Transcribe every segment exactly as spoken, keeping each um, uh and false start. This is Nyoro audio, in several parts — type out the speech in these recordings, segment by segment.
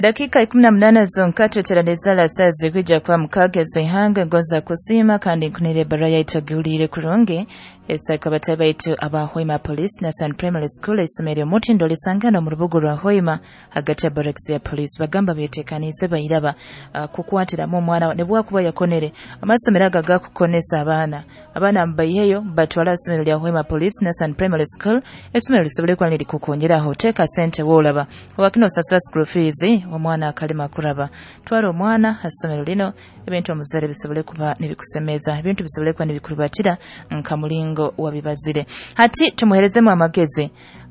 Edakika ikumi na munana zonka tweteraneza la saa zikuja kwa mukaaga z'ihanga ngoza kusiima kandi nkunire ebara yaitu agihuliire kurungi esaka batayi baitu aba Hoima Police na San Primary School isomero omutindo lisangana mu rubuga rwa Hoima hagati ya barracks ya police bagamba betekanize bayiraba uh, kukwatiramu omwana ne bwakuba yakonere amasomero aga gakukonesa abaana abaana mbayiheyo batwala isomero lya Hoima Police na San Primary School isomero lisobole kuba nirikukongeraho teeka sente woolaba wakino osasula school fees omwana akalema kuraba twala omwana asomero lino ebintu omuzere bisobole kuba nibikusemeza ebintu bisobole kuba nibikurubatira nka mulingo wabibazire hati tumuherezemu amagezi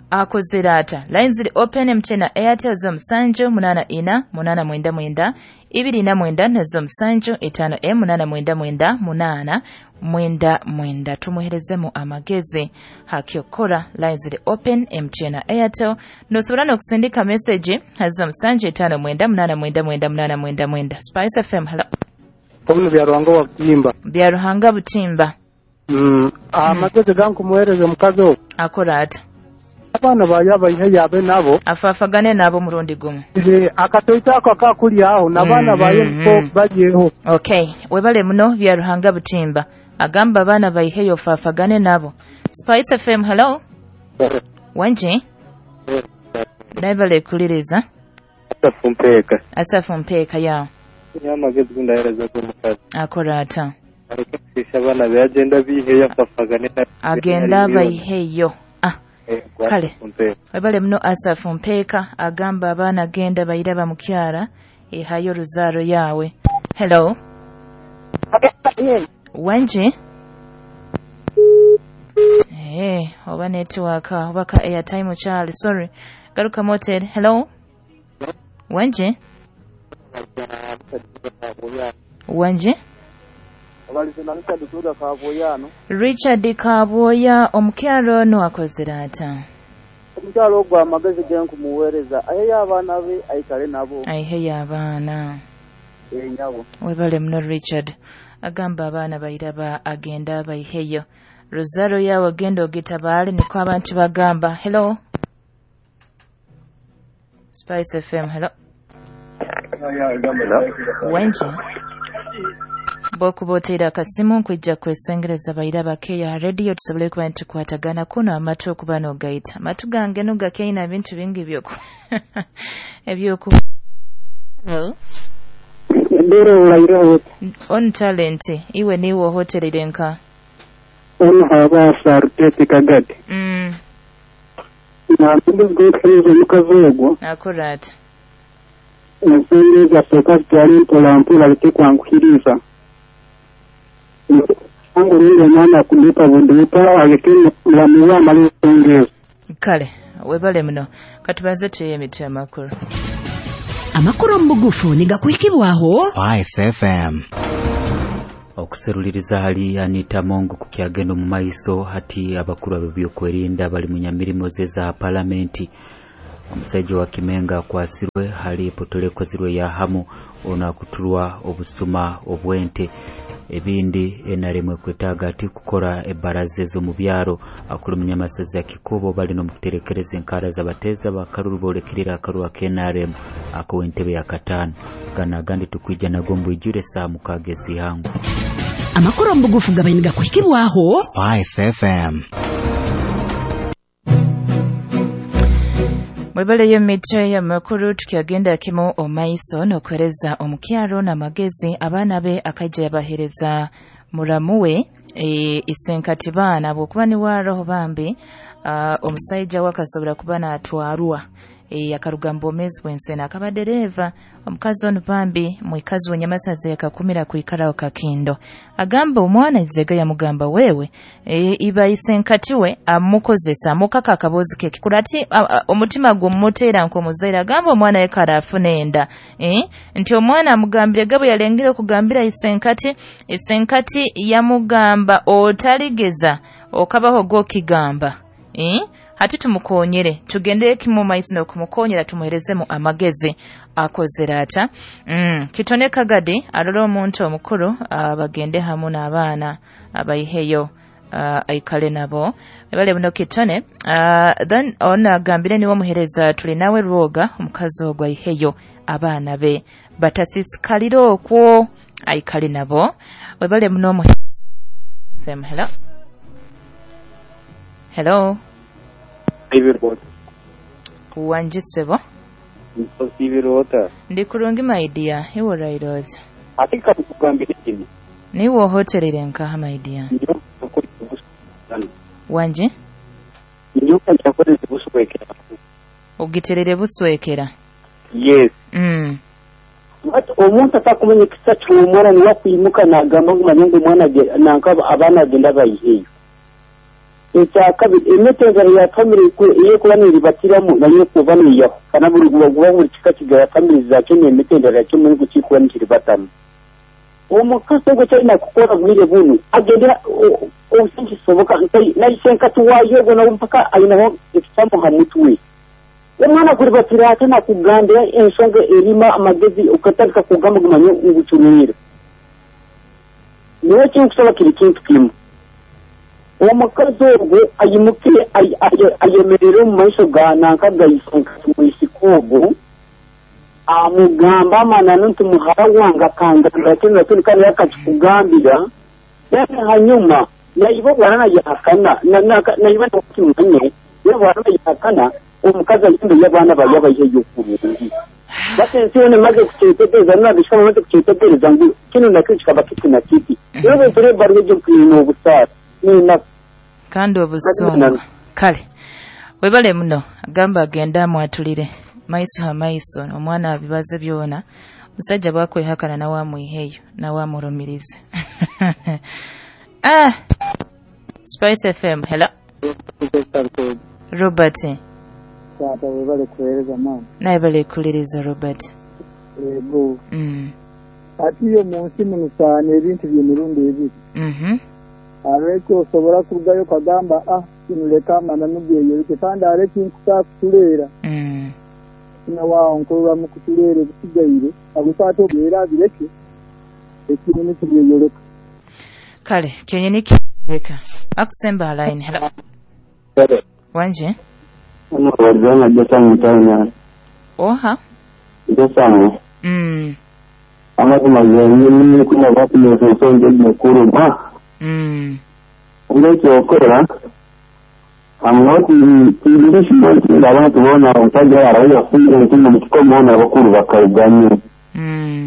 akozera ata lines ziri open M T N na Airtel zo musanju munana ina munana mwenda mwenda ibiri na mwenda nazo musanju itano m munana mwenda mwenda munana mwenda mwenda tumuherezemu amagezi hakyokora lines ziri open M T N na Airtel nosobora n'okusindika message hazo musanju itano mwenda munana mwenda mwenda munana mwenda mwenda. Spice F M, hello. Omu Byaruhanga wa Butimba. Byaruhanga Butimba. Mm, amagezi gankumuhereza omukazi ogwo. Akora ata? Abaana bayo abayihe yabe nabo. Afafagane nabo murundi gumu. Akatoito ako akakuli aho n'abaana bayo niko bagiyeho. Okay, webale muno Byaruhanga Butimba. Agamba abaana bayiheyo fafagane nabo. Spice F M, hello. Wanje? Naibale kuliriza. Asafu Mpeeka. Asafu Mpeeka ya. Amagezi gundahereza omukazi. Akora ata? Areke kushisha abaana be agenda biheyo afafagane nabo. Agenda bayiheyo. Ah. Kale. Webale muno Asafu Mpeeka agamba abaana genda bayiraba mukyara ehayo ruzaaro yawe. Hello. Wanje? Eh, oba network oba ka airtime Charlie, sorry. Garuka motel. Hello. Wanje? Wanje? Richard Kaboya omukyalo ono akozera ata? Omukyalo ogwo amagezi ge nkumuweereza aheyo abaana be aikale nabo. Aheyo abaana. Enyabo. Webale muno Richard. Agamba abaana bayiraba agenda bayiheyo. Rosaro yawe agenda ogitabaale niko abantu bagamba. Hello. Spice F M, hello. Wanje? Bokuba oteera akasimu nkwijja kwesengereza bayiraba keya radio tusobole kuba nitukwatagana kuno amatu okuba n'ogayita amatu gange no gakyalina bintu bingi ebyoku ebyoku Ndero ulayiro on talent iwe niwe hotelire nka ono haba sarutete kagati mm na mbizi gokuhereza omukazi ogwo akora ata ensonga asooka zitwale mpola mpola aleke kwanguhiriza angu rundi omwana kuduuka buduuka aleke mulamu we amale ensonga ezo. Kale webale muno katubanze tuye emitwe amakulu. Amakulu omu bugufu nigakuhikibwaho Spice F M. Okuseruliriza hali Anita Mongo kukyagenda mu maiso hati abakulu ab'ebyokwerinda bali mu nyamirimo ze za palamenti. Omusajja wa Kimenga akwasirwe hali epotole ekozirwe ya hamu ono akutulwa obusuma obwente. Ebindi N R M ekwetaaga ati kukora ebaraza ez'omu byaro. Akulu munyamasaza ya Kikubo bali n'omukuterekereza enkara z'abateeza bakaruru boolekirira akaruru aka N R M ak'ow'entebe ya kataano. Gano agandi tukwija nago mbwijure saa mukaaga ez'ihangu. Amakulu omu bugufu gabaire nigakuhikibwaho Spice F M. Mwebaleyo mitwe y'amakulu tukyagenda kimu omaiso n'okuhereza omukyalo n'amagezi abaana be akajja yabahereza muramu we e, isenkati baana bw'okuba niwaroho bambi uh, omusajja wakasobora kuba n'atwarwa e, akaruga mbomezi bw'ensena akaba dereva omukazi ono bambi mwikazi w'enyamasaza yakakumira kwikaraho kakindo agamba omwana izega yamugamba wewe e, iba isenkati we amukozesa amukaka akabozi ke kikula ati omutima gumuteera nk'omuzaire agamba omwana yekara afuna enda e, nti omwana amugambire gabo yalengere okugambira isenkati isenkati yamugamba otaligeza okabaho gokigamba e, hati tumukonyere tugendere kimu maiso n'okumukonyera tumuherezemu amagezi akozera ata mm. Kitone Kagadi arora omuntu omukuru abagende hamu n'abaana abayiheyo uh, aikale nabo. Ebale buno kitone. Uh, then ona agambire niwo muhereza tuli nawe rwoga omukazi ogwa iheyo abaana be batasisikalira okwo aikale nabo. Webale muno mu F M. Hello. Hello. Wanjisebo. Nsibirota. Ndi kurungi my dear. Iwo rairoza. Atika kugambira kini. Niwo hotelire nkaha my dear. Wanje? Nyoka chakoreze buswekera. Ogiterere buswekera. Yes. Mm. But omuntu atakumenya kisa cy'umwana ni wakwimuka nagamba ngo manengo umwana nankaba abana agenda bayiheyo. Ekyakabiri emitendera ya family iyo kuba niribatiramu nayo kuba niyaho kana buri guba buri kika kigaya family zakyo n'emitendera yakyo muri gukikuba nikiribatamu. Omukazi ogwo kyalina kukora bwire bunu agendera obusinkisoboka nayisenka tuwayo nawe mpaka ayinaho ekitamuha mutwe. Omwana kuribatira ate nakugambira ensonga erima amagezi okatandika kugamba gumanye ngucumira. Niwe kinkusaba kiri kintu kimu. Omukazi ogwo ayimuke ayemerere omu maiso ga nanka gayisenka tumwisika ogwo amugamba amananu nti muhara wange akangambira kinu na kinu kandi akakikugambira. Then hanyuma naiba bwana yahakana naiba nakimanye bwana yahakana omukazi ayimbe y'abaana bayabayeyo kurungi. Basi nsiyo nemaze kukyitegereza nabishika bamaze kukyitegereza ngu kinu nakyo kikaba kiti na kiti. Rero bintu bari byo kwina obusaara nina kandi obusungu. Kale webale muno agamba agenda amwatulire maiso ha maiso omwana abibaze byona omusajja bwakwehakana nawe amwiheyo nawe amurumirize. Ah, Spice F M. Hello. Robert. Tata webale kuhereza mama. Naye bale kuliriza Robert. Ego. Mm. Ati yo mu nsi muno ebintu by'emirundi ebiri. Mhm. Areke osobora kurugayo kagamba ah kinuleka amananu geyoreke kandi areke nkusa kutuleera. Mm. Na wao nkurura mu kutuleera ebisigaire agusato era bireke ekintu kiyeyoreka. Kale kyenyini kireka. Akusemba line. Hello. Hello. Wanje? Wajana jesa mutanya. Oha. Jesa. Mm. Amazima yenyewe kuna watu msonge mkuru ba. Mm. Ngeke okora. Amnoti tindishi abantu bona omusajja arayo kufunga nti mu kikomo na bakuru bakayiganye. Mm.